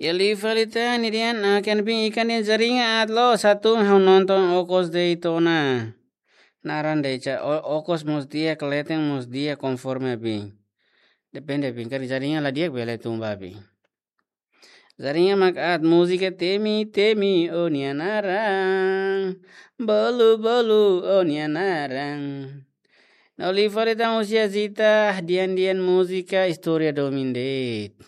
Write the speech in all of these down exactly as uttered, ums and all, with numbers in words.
Iha liu fali tan, nia dehan, ah, ken bin ikan dehan jaringan aat loos, atu ha'u nonton okos de'it ona. Naran de'it, o-, okos mós di'ak, leten mós di'ak konforme abin. Depende abin, karik jaringan la di'ak bele tun ba abin. Jaringan mak aat, múzika temi, temi, o-nia naran. Bolu, bolu, o-nia naran. No liu fali tan husi Azita, di'ak-di'ak múzika, istória domin de'it.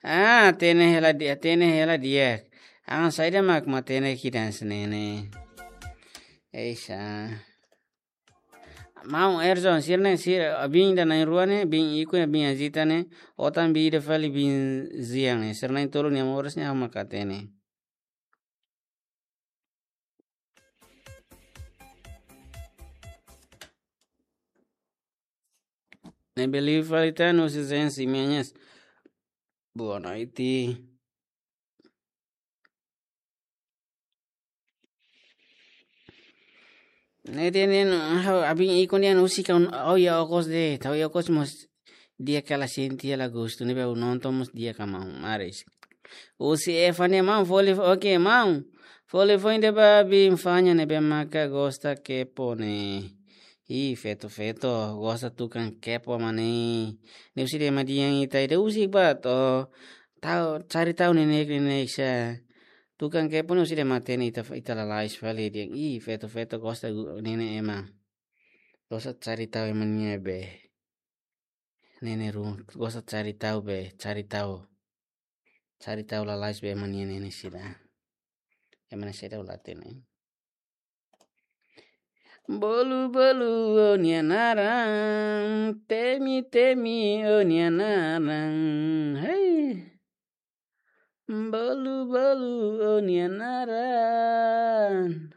Ah, hatene hela di'ak, hatene hela di'ak. An saida mak matenek ida-ne'e. Eixa. Maun Erson, sira-ne'e, sira, bin ida na'in-rua ne'e, bin Iku, bin Azita ne'e, otan bin ida fali bin Zian ne'e. Sira na'in-tolu nia moras ne'e ha'u mak hatene. Ne'ebé liu fali tan husi Zensi Menhas. Boa noite. Ne'e dehan, ha'u, abin Iku dehan husik ha'u, ha'u iha okos de'it, ha'u iha okos mós di'ak hela, sente hela gostu, ne'ebé ha'u nonton mós di'ak ka maun, maris. Husi Eva ne'e maun, foli, oke, maun. Foli foin de'it ba bin Fanya ne'ebé maka gosta kepo ne'e. Ih, feto-feto, gosta tukan kepo mak ne'e. Ne'e husi de'it ema di'ak ita ida husik ba to'o. Tau, cari tahu nenek-nenek sa. Tukan kepo ne'e husi de'it matenek ita, ita lalais fali dehan. Ih, feto-feto gosta gu-, nenek ema. Gosta cari tahu ema nia be. Nenek ru, gosta cari tahu be, cari tahu. Cari tahu lalais be ema nia nenek sira. Ema nia sira ulate ne'e. Bolu, bolu, o-nia naran, temi, temi, o-nia naran. Hei. Bolu, bolu, o-nia naran.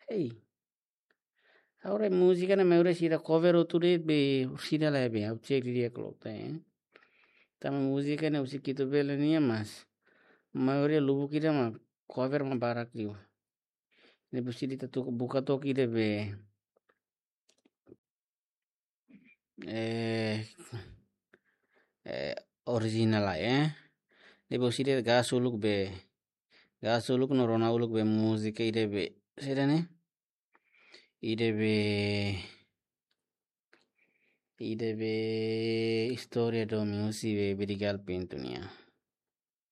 Hei. Agora múzika ne'e maioria sira cover hotu de'it be, sira la be, ha'u cek didi'ak loos, eh. Tanba múzika ne'e husi Kitubele nian mas. Maioria lubuk ida mak cover mak barak liu. Ne'e husi ita tuku buka took ida be. Eh, eh, original lai, eh. Ne'ebé husi ida gas uluk be. Gas uluk no rona uluk be múzika ida be. Sira ne'e. Ida be, ida be istória domin husi be Bedigal Pintu nian.